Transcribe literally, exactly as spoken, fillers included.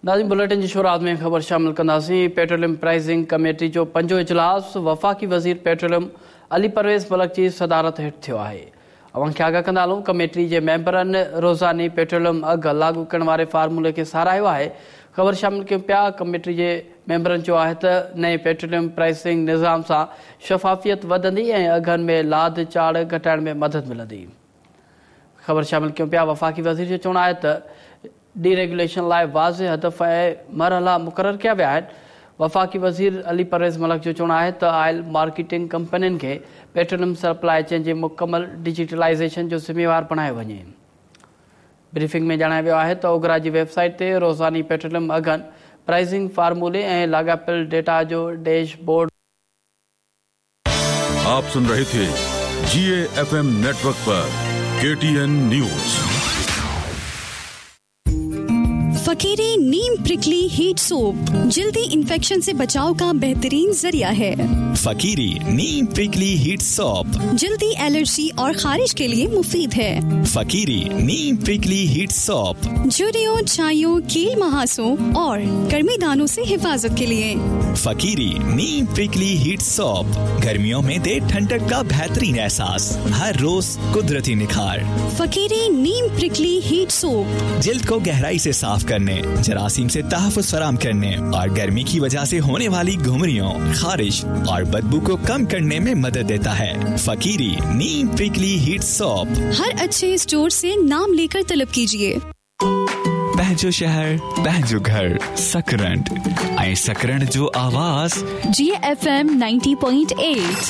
नाज़रीन, बुलेटिन जी शुरुआत में ख़बर शामिल कंदासीं। पेट्रोलियम प्राइसिंग कमेटी जो पंजो इजलास वफ़ाक़ी वज़ीर पेट्रोलियम अली परवेज़ मलिक जी सदारत हेठि थियो आहे। अव्हां खे आगाह कंदा हलूं, कमेटी जे मेंबरनि रोज़ानी पेट्रोलियम अघ लागू करण वारे फार्मूले खे सराहियो आहे। ख़बर शामिल कयूं पिया, कमेटी जे मेंबरनि चयो आहे त नए पेट्रोलियम प्राइसिंग निज़ाम सां शफ़ाफ़ियत वधंदी ऐं अघनि में लाध चाढ़ घटाइण में मदद मिलंदी। ख़बर शामिल कयूं पिया, वफ़ाक़ी वज़ीर जो चवणु आहे त डीरेगुलेशन लाइ वाज़े हदफ़ ऐं मरहला मुक़ररु कया विया आहिनि। वफ़ाक़ी वज़ीर अली परवेज़ मलिक जो चवणु आहे त आयल मार्केटिंग कंपनियुनि खे पेट्रोलियम सप्लाई चेन जी मुकमल डिजिटलाइज़ेशन जो ज़िम्मेवार बणायो वञे। ब्रीफिंग में ॼाणायो वियो आहे त ओगरा जी वेबसाइट ते रोज़ानी पेट्रोलियम अघनि, प्राइसिंग फार्मूले ऐं लाॻापियल डेटा जो डैशबोर्ड। आप सुन रहे थे जी एफ एम नेटवर्क पर के टी एन न्यूज। फकीरी नीम प्रिकली हीट सोप जल्दी इन्फेक्शन से बचाव का बेहतरीन जरिया है। फकीरी नीम प्रिकली हीट सोप जल्दी एलर्जी और खारिश के लिए मुफीद है। फकीरी नीम प्रिकली हीट सोप झुर्रियों, छाइयों, कील महासों और गर्मी दानों से हिफाजत के लिए। फकीरी नीम प्रिकली हीट सोप गर्मियों में दे ठंडक का बेहतरीन एहसास, हर रोज कुदरती निखार। फकीरी नीम प्रिकली हीट सोप जिल्द को गहराई से साफ करने, जरासीम से तहफ़्फ़ुज़ फराहम करने और गर्मी की वजह से होने वाली घुमरियों, खारिश और बदबू को कम करने में मदद देता है। फकीरी नीम प्रिकली हीट सोप हर अच्छे स्टोर से नाम लेकर तलब कीजिए। पंहिंजो शहर, पंहिंजो घर, सकरंड ऐं सकरंड जो आवाज़ जी F M ninety point eight.